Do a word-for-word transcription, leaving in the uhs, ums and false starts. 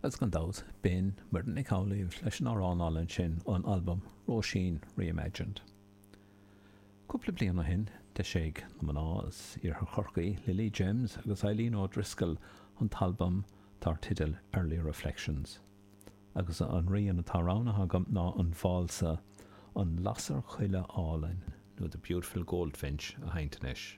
Agus gan dabht, b'in Muireann Nic Amhlaoibh leis an amhrán álainn sin ón albam Róisín Reimagined. Cúpla bliain ó shin, d'eisigh na mná as Iarthar Chorcaí, Lily James agus Eileen O'Driscoll an t-albam dar teideal Early Reflections. Agus an rian atá roghnaithe agam ná an válsa An Lasair Choille Álainn nó The Beautiful Goldfinch a sheinnt anois.